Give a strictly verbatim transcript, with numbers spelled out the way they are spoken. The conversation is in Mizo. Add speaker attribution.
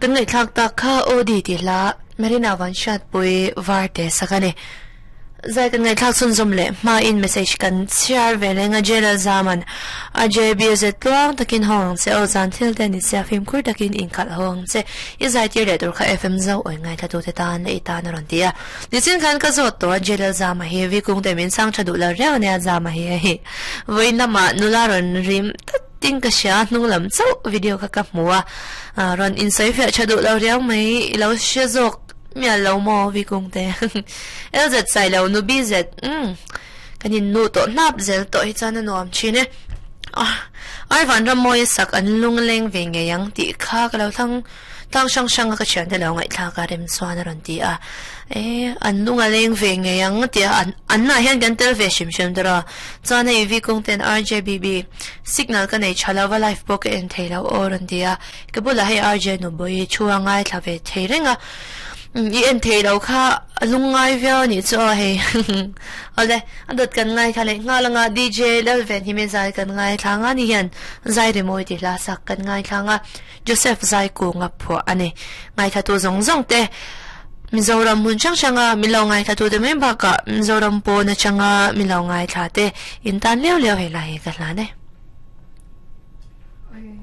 Speaker 1: Kan ngai thlak tak kha O D ti hla Marina van shat pui var te sakane zai kan ngai thlak chun zum le ma in message kan share ve lenga jela zaman a J B Z tluang takin hong che o zan thil te ni sia phim khur takin in khat hong che i zai tir le tur kha F M zo oi ngai tha tu te tan le ta na ron tia ni chin khan ka zo to jela zama hi vi kung te min sang thadu la reu ne zama hi hi voin lama nula ron rim ting ka sha nung lam chau video ka ka muwa ron in sai fe chadu lo riau mai lo she zok mia lo mo vi kung te L Z sai lo nu B Z um kanin nu to nap zel to hi chan nuam chine ai van ram moi sak an lung leng ve nge yang ti kha ka lo thang tang sang sang ka chian te lo ngai thla ka rem chuan ron ti a e an lunga leng ve nge yang ti an an na hian kan tel ve shim shim dra chuan hei vi kung ten R J B B signal ka nei thalawa live pawh ka en thei lo aw ron ti a ka bula hei R J nu boi chua ngai thla ve thei renga i en thei lo kha lungai viau ni chu hei ole adot kan ngai kha le nga langa D J Lelven hi me zai kan ngai thanga ni hian zai re moi ti la sak kan ngai thanga Joseph zai ku nga pho ani ngai tha tu zong zong te Mizoram mun chang changa milo ngai tha tu te mai ba ka Mizoram po na changa milo ngai tha te in tan leo leo he la he ka la ne.
Speaker 2: Oi.